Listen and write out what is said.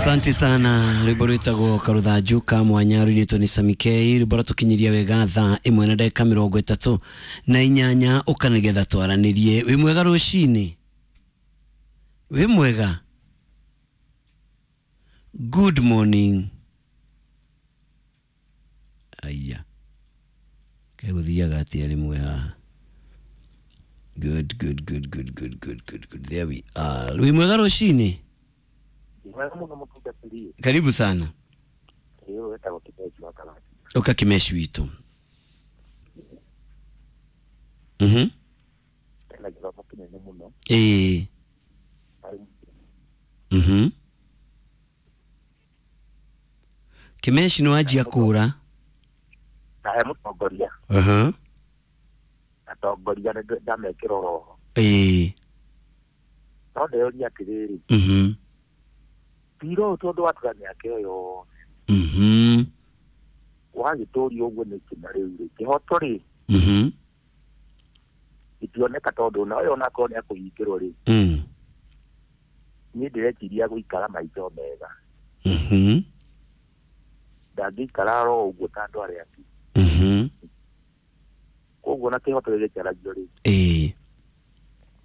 Asante sana. Rwimbo rwitagwo karuthanju ka mwanya ruinitwo ni Sami K. Rwimbo rwatukinyiria wega thaa 1 na ndagika 38 uka nigetha twaranirie. Wi mwega rucini? Wi mwega? Good morning. Aya, keguthiaga atia rimwe haha? Good, good, good, good, good, good, good, good. There we are. Wi mwega rucini? Mwega muno mũtungatĩri. Karibu sana. Ĩĩ, wetagwo Kĩmeci wa Karati. Uka Kimeshi witũ. Ena gĩthomo kĩnene mũno. Ĩĩ. Harĩ Kimeshi nĩ wanjia kũra. Na he mũtongoria. Atongoria nĩ ndamekĩra oroho. Ĩĩ. No ndĩroria atĩrĩrĩ, cira ũyũ tondũ watura mĩaka ĩyo yothe wagĩtũrio ũguo nĩkĩ na rĩu rĩ kĩhoto rĩ gĩtioneka tondũ na ũyũ onakorwo nĩ akũhingĩrwo rĩ, niĩ ndĩreciria gũikara maica mega. Ndangĩikara oro ũguo ta andũ arĩa angĩ. Koguo na kĩhoto gĩgĩcaragio rĩ, Ĩĩ.